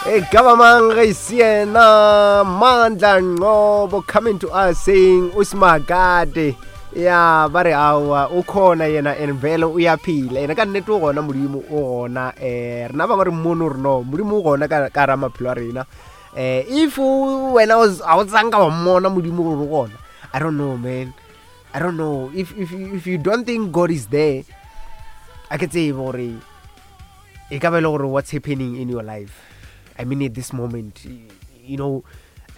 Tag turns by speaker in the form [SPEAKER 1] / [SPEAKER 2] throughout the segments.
[SPEAKER 1] E ka ba mang ge e se yena Mandla Ngcobo coming to us saying uSimakade ya ba re aowa o khona yena and vele o ya phela yena ka nnete o gona modimo o gona um rena bangwe re mmono re no modimo o gona ka ka ra maphelo a rena um if wena ga o tsanka wa mmona modimo gore o gona i don't know man i don't know if, if, if you don't think god is there a ke tsebe gore e ka ba e le gore what's happening in your life i mean at this moment you know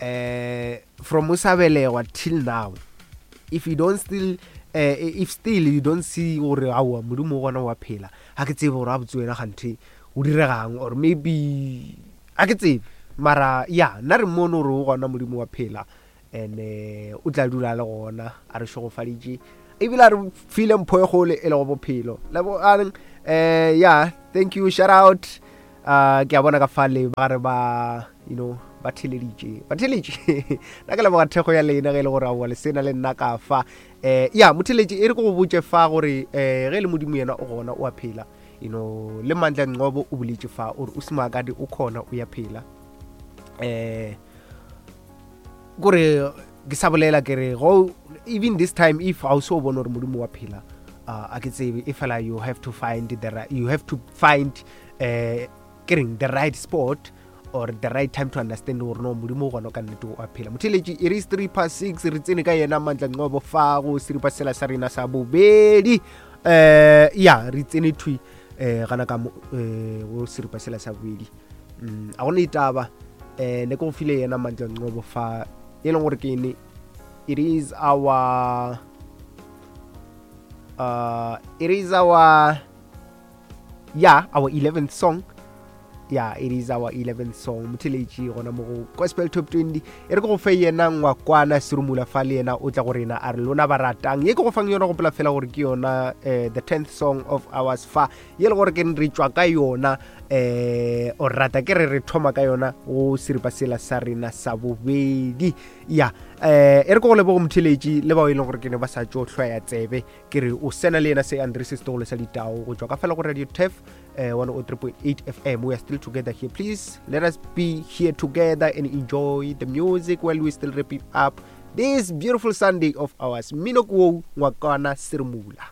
[SPEAKER 1] uh, from o sa belegwa till now if you don't still uh, if still you don't see gore aowa modimo gona wa phela ga ke tsebe gore a botse wena ganthe o diregang or maybe a ke tsebe mara ya nna re mmone gore o gona modimo wa phela and eh, o tla dula le gona a re šegofaditše ebile a re file mpho e gole e lego bophelo lebogang um yeah thank you shout out uh, ke a bona ka fale ba gare ba you know ba theleditše ba theletše nna ke leboga thekgo ya lena ge e le gore aowa le sena le nna ka fa um ya motheletše e re ke go botše fa gore um ge e le modimo yena o gona o a phela you know le mandla nqobo o boletše fa o re o semakadi o khona o ya phela um kore ke sa bolela ke re go even this time if ga o se o bone gore modimo wa phela uh, a ke tsebe e fela you have to find the right, you have to find uh, ke reng the right spot or the right time to understand gore no modimo gona ka nnete o a phela motheletši e re 3 past 6 re tsene ka yena mantla nqobo fa go seripa sela sa rena sa bobedi um ya re tsene thwi um gana ka um go seripa sela sa bobedi mm, a gona ditaba um ne ke go file yena mandla nqobo fa e leng gore ke ene it is our uh, it is our yeah our 11th song yeah it is our 11th song motheletši gona mo go gospel top 20 e re ke go fe yena ngwakwana serumula fa le yena o tla go rena a re lona ba ratang ye ke go fang yona gopola fela gore ke yona uh, the 10th song of ours fa ye le gore ke re tšwa ka yona um o rata ke re re thoma ka yona go seripa sela sa rena sa bobedi ya um e re ke go lebogo motheletši le bao e leng gore ke ne ba sa tšo hlwaya tsebe ke re o sena le yena se andre sesetogolo sa ditao go tšwa ka fela go radio tef uh, 103.8 fm we are still together here please let us be here together and enjoy the music while we still wrapping up this beautiful sunday of ours mmino ke woo ngwakana seremula.